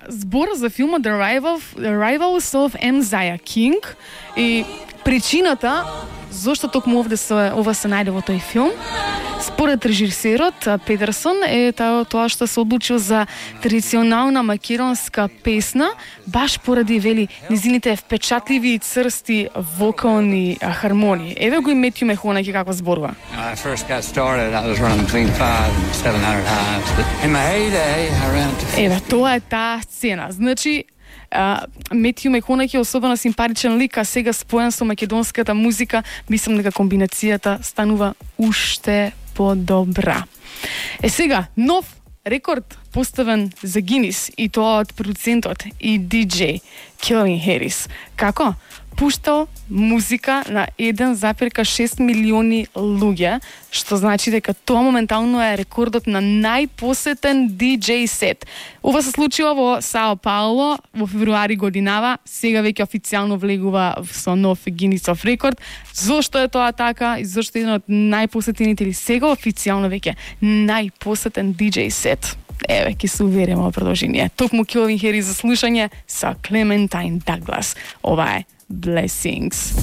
збор за филмот The Rivals of Mzaya King и причината зошто токму ова се најде во тој филм. Според режисерот Петерсон е тоа што се одлучил за традиционална македонска песна, баш поради, вели, низините впечатливи и црсти вокални хармонии. Еве го и Метју Мехонаки како зборува. I first got started, I was running between 500 and 700 hives, but in my heyday I ran to... Еве, тоа е таа сцена. Значи, Метју Мехонаки е особено симпатичен лик, а сега споен со македонската музика, мислам дека комбинацијата станува уште подобра. Сега, нов рекорд поставен за Гинис и тоа од продуцентот и диџеј Келвин Харис. Како? Пуштал музика на 1,6 милиони луѓе, што значи дека тоа моментално е рекордот на најпосетен диџеј сет. Ова се случило во Сао Пауло во февруари годинава, сега веќе официјално влегува со нов Гинисов рекорд. Зошто е тоа така и зошто е еден од најпосетените или сега официјално веќе најпосетен диџеј сет? Еве, ќе се увериме во продолжение. Токму Келвин Харис за слушање со Клементайн Даглас. Ова е Blessings.